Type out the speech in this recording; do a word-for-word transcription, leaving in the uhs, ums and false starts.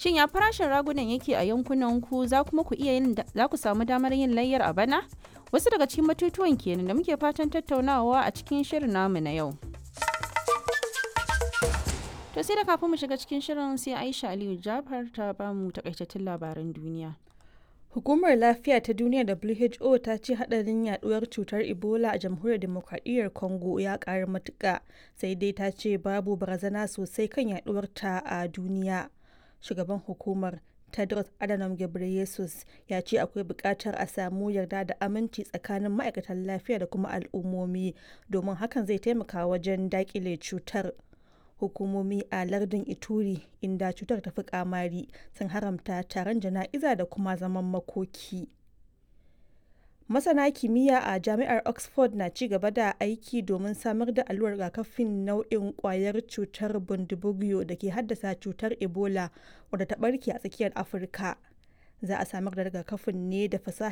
Shin ya farashin ragunan yake a yankunan ku za kuma ku iya yin za ku samu damar yin layyar a bana? Wasu daga cikin batutuwan kenan da muke fatan tattaunawa a cikin shirin namu na yau. To sai da kafin mu shiga cikin shirin sai Aisha Aliyu Jafar ta bamu takaitattun labaran duniya. Hukumar Lafiya ta Duniya W H O ta ce hadarin yaduwar cutar Ebola a Jamhuriyar Demokradiyyar Congo ya karu matuka, sai dai ta ce babu barazana sosai kan yaduwar ta a duniya. Shugaban hukumar, Tedros Adhanom Ghebreyesus, ya ce akwai bukatar a samu yarda da aminci tsakanin ma'aikatan lafiya da kuma al'ummomi domin hakan zai taimaka wajen dakile cutar. Hukumomi a lardin Ituri, inda cutar ta fi kamari, sun haramta taron jana'iza da kuma zaman makoki. Masana kimiyya a Jami'ar Oxford na ci gaba da aiki domin samar da allurar rigakafin nau'in kwayar cutar Bundibugyo da ke haddasa cutar Ebola wadda ta barke a tsakiyar Afirka. Za a samar da rigakafin ne da fasahar